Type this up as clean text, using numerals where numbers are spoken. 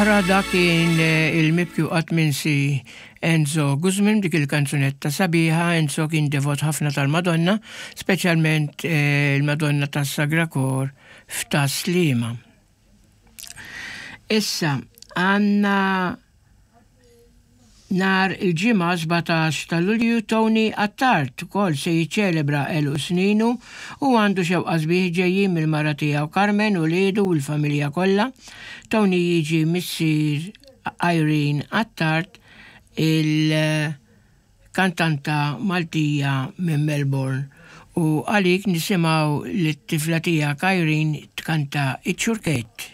Oħra dak kien il-mibki u qatt minsi Enzo Guzman b'dik il-kanzunetta sabiħa. Enzo kien devot ħafna tal-Madonna, speċjalment il-Madonna tas-Sagra Kor f'Tas-Sliema. Issa għandna Nhar il-Ġimgħa 17 ta' Lulju Tony Attard ukoll se jiċċelebra għeluq sninu u għandu xewqa sbieħ ġejjin mill-mara tiegħu Carmen, uliedu u l-familja kollha. Tony jiġi missier Irene Attard il-kantanta Maltija minn Melbourne u għalik nisimgħu lit-tifla tiegħek Irene tkanta Iċ-Ċurkett.